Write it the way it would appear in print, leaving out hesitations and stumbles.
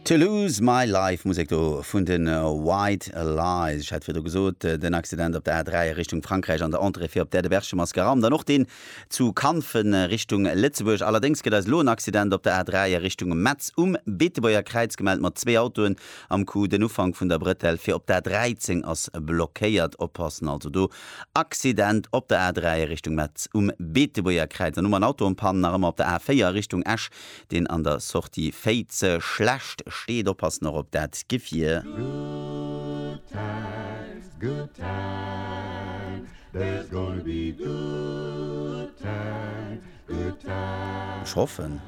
To Lose My Life, Musek do vun de White Lies. Ech hat virdru gesot, den Accident op der A3 a Richtung Frankräich an der Entrée fir op d'Aire de Berchem ass geraumt an och deen zu Kanfen Richtung Lëtzebuerg. Allerdéngs gëtt eis elo en Accident op der A3 a Richtung Metz um Beetebuerger Kräiz gemellt mat zwee Autoen am Coup. Den Ufank vun der Brëtell fir op d'A13 ass blockéiert. Oppassen also do, Accident op der A3 a Richtung Metz um Beetebuerger Kräiz. An hu mer en Auto en panne nach ëmmer op der A4 a Richtung Esch deen an der Sortie Féiz schlecht steet. Oppassen och op dat Gefier. Good times, good times, there's gonna be good times, good times. Ech hoffen.